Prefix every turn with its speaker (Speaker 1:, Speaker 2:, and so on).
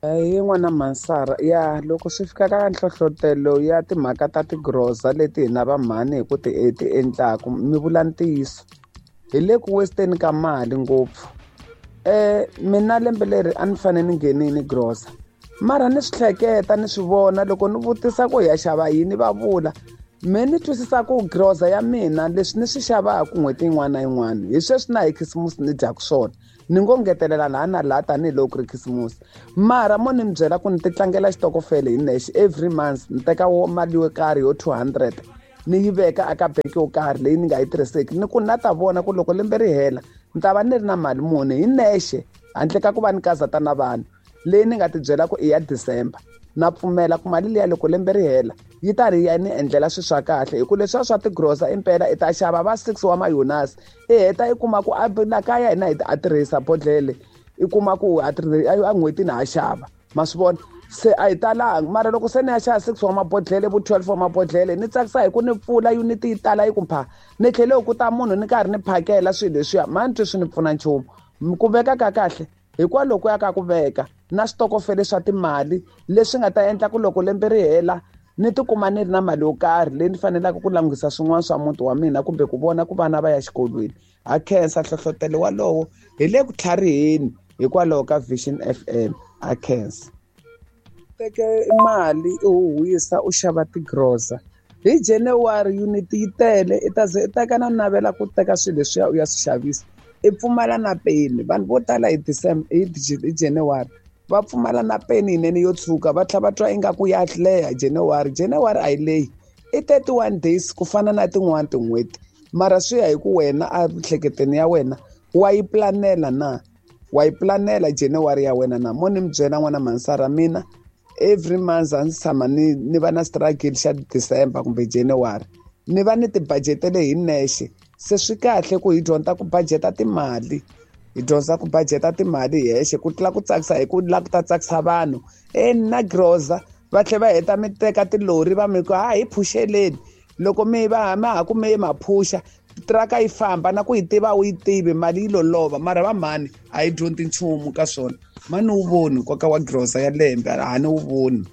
Speaker 1: Hi n'wana Mansara ya loko swi fika ka nhlohlotelo ya timhaka ta tigrosa leti hina va mhani hi ku ti ti endlaku mi vula ntiyiso hi le ku westeni ka mali ngopfu. Mina lembe leri a ni fanele ni nghenini grosa mara ni swi hleketa ni swi vona loko ni vutisa ku hi ya xava yini va vula me ni twisisa ku grosa ya mina leswi ni swi xavaka n'hweti yin'wana na yin'wana hi sweswi na hi khisimusi ni dyaka swona ni ngo ngetelela laha na laha tanihiloko ku ri khisimusi mara mo ni mi byela ku ni ti tlangela xitokofele hi nexe every month ni teka mali yo karhi yo 200 ni yi veka aka bank yo karhi leyi ni nga yi tirhiseki ni ku na ta vona ku loko lembe ri hela ni ta va ni ri na mali muni hi nexe handle ka ku va ni kazata na vanhu leyi ni nga ti byela ku i ya December na pfumela ku mali liya loko lembe ri hela yi ta ri ya ni endlela swilo swa kahle hi ku leswiya swa tigrosa impela i ta xava va 6 wa mayonasi i heta i kuma ku a la kaya hina hi a tirhisa bodlele i kuma ku a n'hwetini ha xava ma swi vona se a hi talanga mara loko se ni ya xava 6 wa mabodlele vo 12 wa mabodlele ni tsakisa hi ku ni pfula yuniti yi tala yi ku pha ni tlhele ku ta munhu ni karhi ni phakela swilo leswiya ma ni twi swi ni pfuna nchumu ku veka ka kahle hikwalaho ku ya ka ku veka na switokofele swa timali leswi nga ta endla ku loko lembe ri hela ni tikuma ni ri na mali yo karhi leyi ni faneleke ku langutisa swin'wana swa muti wa mina kumbe ku vona ku vana va ya xikolweni. Ha khensa nhlohlotelo walowo hi le ku tlhariheni hikwalaho ka Vision FM. Ha khensa. Teke mali i huhwisa u xava tigrosa hi January unit yi tele i ta ze i teka na navela ku teka swilo leswiya u ya swi xavisa i pfumala na peni. Vanhu vo tala hi December hi January va pfumala na peni yinene yo tshuka va tlhela va twa ingaku ya leha January. January a yi lehi i 31 days ku fana na tin'wani tin'hweti mara swi ya hi ku wena a miehleketweni ya wena wa yi planela na wa yi planela January ya wena na mo ni mi byela n'wana Mansara mina every month a ndzi tshama ni va na struggle xa December kumbe January ni va ni tibudgetele hi nexe se swi kahle ku hi dyondza ku budgeta timali hi dyondza ku budgeta timali hi hexe ku tlula ku tsakisa hi ku lava ku ta tsakisa vanhu e ni na grosa va tlhela va heta mi teka tilori va mi ku ha hi phuxeleni loko mi va ma ha ku mi ma phusha tiraka yi famba na ku yi tiva u yi tivi mali yi lolova mara va mhani a yi dyondzi nchumu ka swona mani wu voni nkoka wa grosa ya lembe a ni wu voni.